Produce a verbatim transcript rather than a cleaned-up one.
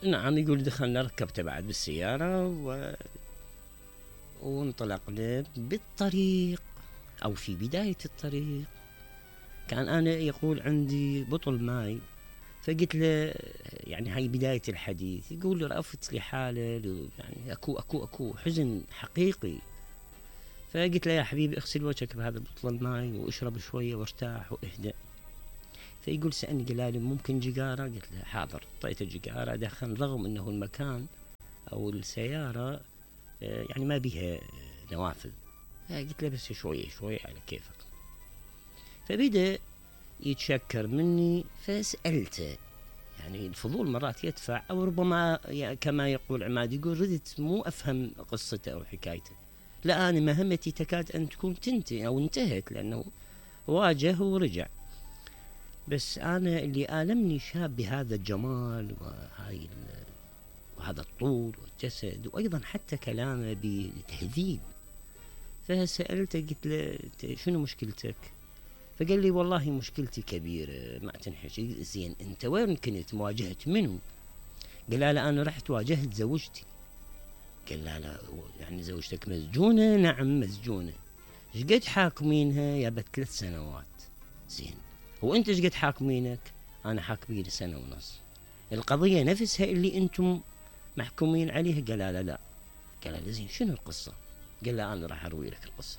نعم. يقول دخلنا ركبته بعد بالسيارة و وانطلقنا بالطريق أو في بداية الطريق. كان أنا يقول عندي بطل ماي، فقلت له يعني هاي بداية الحديث، يقول لي رأفت لي حالة يعني أكو أكو أكو حزن حقيقي. فقلت له يا حبيبي اغسل وجهك بهذا البطل الماي واشرب شوية وارتاح واهدأ. فيقول سألني قال لي ممكن جيجارة؟ قلت له حاضر. اعطيته جيجارة دخن، رغم انه المكان او السيارة يعني ما بيها نوافذ. قلت له بس شوية شوية على كيفك. فبدأ يتشكر مني، فسألته يعني الفضول مرات يدفع، او ربما كما يقول عماد يقول ردت مو افهم قصته او حكايته. لا انا مهمتي تكاد ان تكون تنتهي او انتهت، لانه واجه ورجع. بس انا اللي آلمني شاب بهذا الجمال وهاي وهذا الطول والجسد، وايضا حتى كلامه بتهذيب. فسألته قلت له شنو مشكلتك؟ فقال لي والله مشكلتي كبيرة ما تنحكي. زين انت وين كنت؟ مواجهة منو؟ قال لا انا رحت واجهت زوجتي. قال لا لا يعني زوجتك مسجونة؟ نعم مسجونة. ايش قد حاكمينها؟ يابا ثلاث سنوات. زين وانت ايش قد حاكمينك؟ انا حاكمين سنة ونص. القضية نفسها اللي انتم محكومين عليها؟ قال لا لا. قال لا زين شنو القصة؟ قال لا انا راح اروي لك القصة.